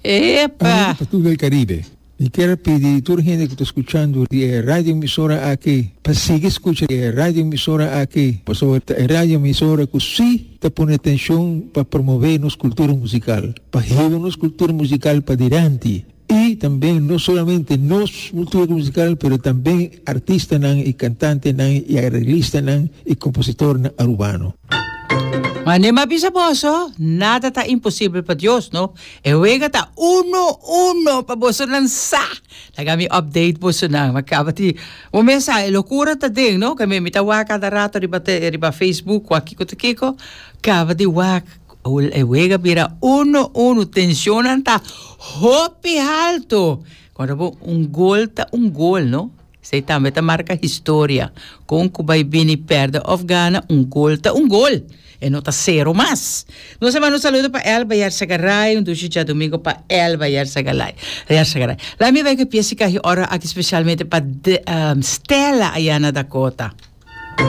Epa! Pa tur el Caribe. Mi kier a pidi tur hende ku ta skuchando di e radio emisora aki pa sigui skucha e radio emisora aki pasobra ta e radio emisora ku si ta pone atenshon pa promove nos kultura musikal, pa hiba nos kultura musikal padilanti i tambe no solamente nos kultura musikal pero tambe artistanan i kantantenan i areglistanan i kompositornan arubano. Mane m'a bisa boso, nada ta imposibel pa Dios, no? E wega ta uno uno pa bosonan sa. Laga mi update bosonan. Mi kaba di, bo mes sa, e lokura ta den, no? Ke mi ta wak kada rato riba te, riba Facebook wak kiko ta kiko. Kaba di wak, e wega bira uno uno. Tensionnan ta hopi halto. Kòrda bo, un gol ta un gol, no? Esei tambe ta marka historia. Kon ku bai bini pèrdè òf gana, un gol ta un gol. E no ta sero mas. Nos a manda un saludo pa Elba Yarzagaray, un dushi djadumingu pa Elba Yarzagalay, Yarzagaray. Laat mi bai ku e pies di kahi oro aki spesialmente pa Stella aya na Dakota.